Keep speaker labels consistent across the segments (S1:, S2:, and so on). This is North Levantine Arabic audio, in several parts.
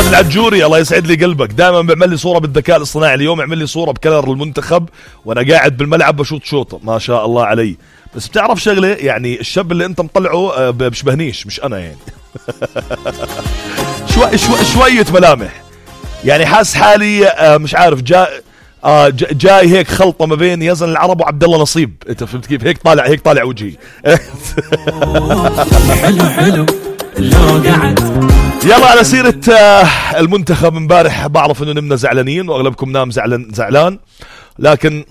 S1: العجوري الله يسعد لي قلبك، دائما بيعمل لي صورة بالذكاء الاصطناعي، اليوم عمل لي صورة بكلر المنتخب وانا قاعد بالملعب بشوط شوطة، ما شاء الله علي. بس بتعرف شغلة، يعني الشاب اللي انت مطلعه بشبهنيش، مش انا يعني. شوية ملامح، يعني حاس حالي مش عارف جاي هيك خلطة ما بين يزن العرب وعبد الله نصيب، انت فهمت كيف؟ هيك طالع وجهي.
S2: حلو لو قعد.
S1: يلا على سيرة المنتخب، امبارح بعرف انه نمنا زعلانين واغلبكم نام زعلان، لكن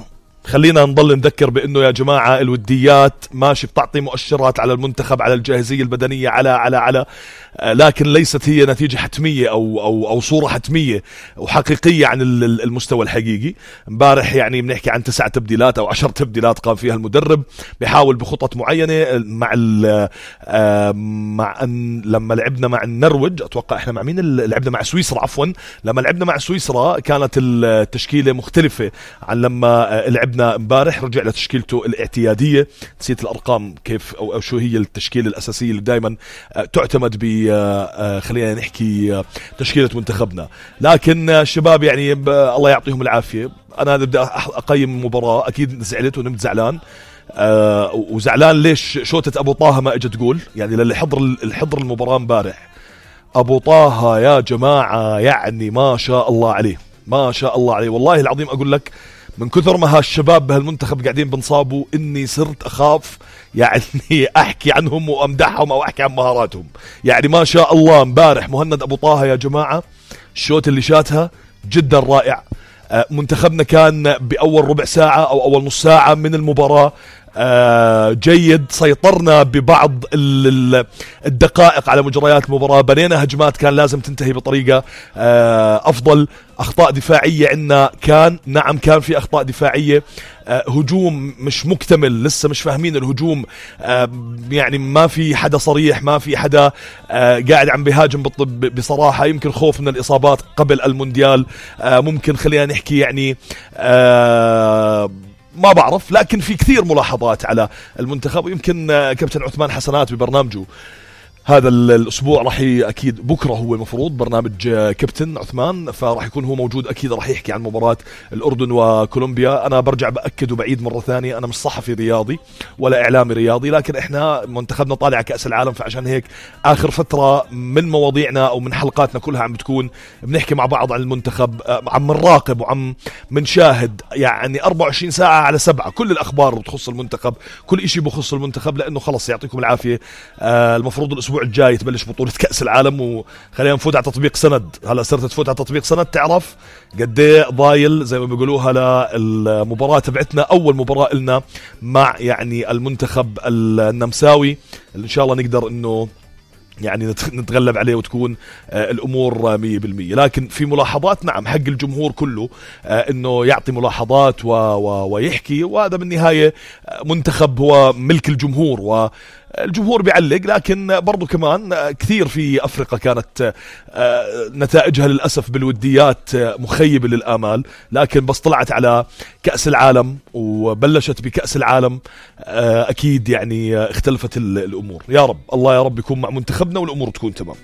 S1: خلينا نضل نذكر بانه يا جماعة الوديات ماشي بتعطي مؤشرات على المنتخب، على الجاهزية البدنية، على لكن ليست هي نتيجة حتمية او صورة حتمية وحقيقية عن المستوى الحقيقي. امبارح يعني بنحكي عن 9 تبديلات او 10 تبديلات قام فيها المدرب، بيحاول بخطط معينة مع لما لعبنا مع النرويج، اتوقع احنا مع مين لعبنا؟ مع سويسرا عفوا. لما لعبنا مع سويسرا كانت التشكيلة مختلفة عن لما لعبنا امبارح، رجع لتشكيلته الاعتيادية، نسيت الارقام كيف او شو هي التشكيلة الاساسية اللي دائما تعتمد خلينا نحكي تشكيلة منتخبنا. لكن الشباب يعني الله يعطيهم العافية. انا بدي اقيم المباراة، اكيد زعلت ونمت زعلان. وزعلان ليش شوتة ابو طه ما اجت جول؟ يعني للي حضر المباراة امبارح، ابو طه يا جماعة يعني ما شاء الله عليه، ما شاء الله عليه والله العظيم. اقول لك من كثر ما هالشباب بهالمنتخب قاعدين بنصابوا اني صرت اخاف يعني احكي عنهم وامدحهم او احكي عن مهاراتهم. يعني ما شاء الله امبارح مهند ابو طه يا جماعة، الشوت اللي شاتها جدا رائع. منتخبنا كان باول ربع ساعة او اول نص ساعة من المباراة جيد، سيطرنا ببعض الدقائق على مجريات المباراة، بنينا هجمات كان لازم تنتهي بطريقة أفضل. أخطاء دفاعية عندنا كان في أخطاء دفاعية، هجوم مش مكتمل، لسه مش فاهمين الهجوم، يعني ما في حدا صريح، ما في حدا قاعد عم بيهاجم بصراحة. يمكن خوف من الإصابات قبل المونديال، ممكن خلينا نحكي يعني ما بعرف، لكن في كثير ملاحظات على المنتخب. ويمكن كابتن عثمان حسنات ببرنامجه هذا الأسبوع راح أكيد بكرة هو مفروض برنامج كابتن عثمان، فراح يكون هو موجود، أكيد راح يحكي عن مباراة الأردن وكولومبيا. أنا برجع بأكد وبعيد مرة ثانية، أنا مش صحفي رياضي ولا إعلامي رياضي، لكن إحنا منتخبنا طالع كأس العالم، فعشان هيك آخر فترة من مواضيعنا أو من حلقاتنا كلها عم بتكون بنحكي مع بعض عن المنتخب، عم نراقب وعم منشاهد يعني 24 ساعة على 7 كل الأخبار بتخص المنتخب، كل إشي بخص المنتخب، لأنه خلص يعطيكم العافية. المفروض الأسبوع الجاي تبلش بطولة كأس العالم، وخلينا نفوت على تطبيق سند. هلا صرت تفوت على تطبيق سند تعرف قد ايه ضايل زي ما بيقولوها للمباراة تبعتنا، أول مباراة لنا مع يعني المنتخب النمساوي، اللي إن شاء الله نقدر إنه يعني نتغلب عليه وتكون الأمور 100%. لكن في ملاحظات، نعم حق الجمهور كله إنه يعطي ملاحظات ويحكي، وهذا بالنهاية منتخب هو ملك الجمهور والجمهور بيعلق. لكن برضو كمان كثير في أفريقيا كانت نتائجها للأسف بالوديات مخيبة للآمال، لكن بس طلعت على كأس العالم وبلشت بكأس العالم أكيد يعني اختلفت الأمور. يا رب الله يا رب يكون مع منتخبنا والأمور تكون تمام.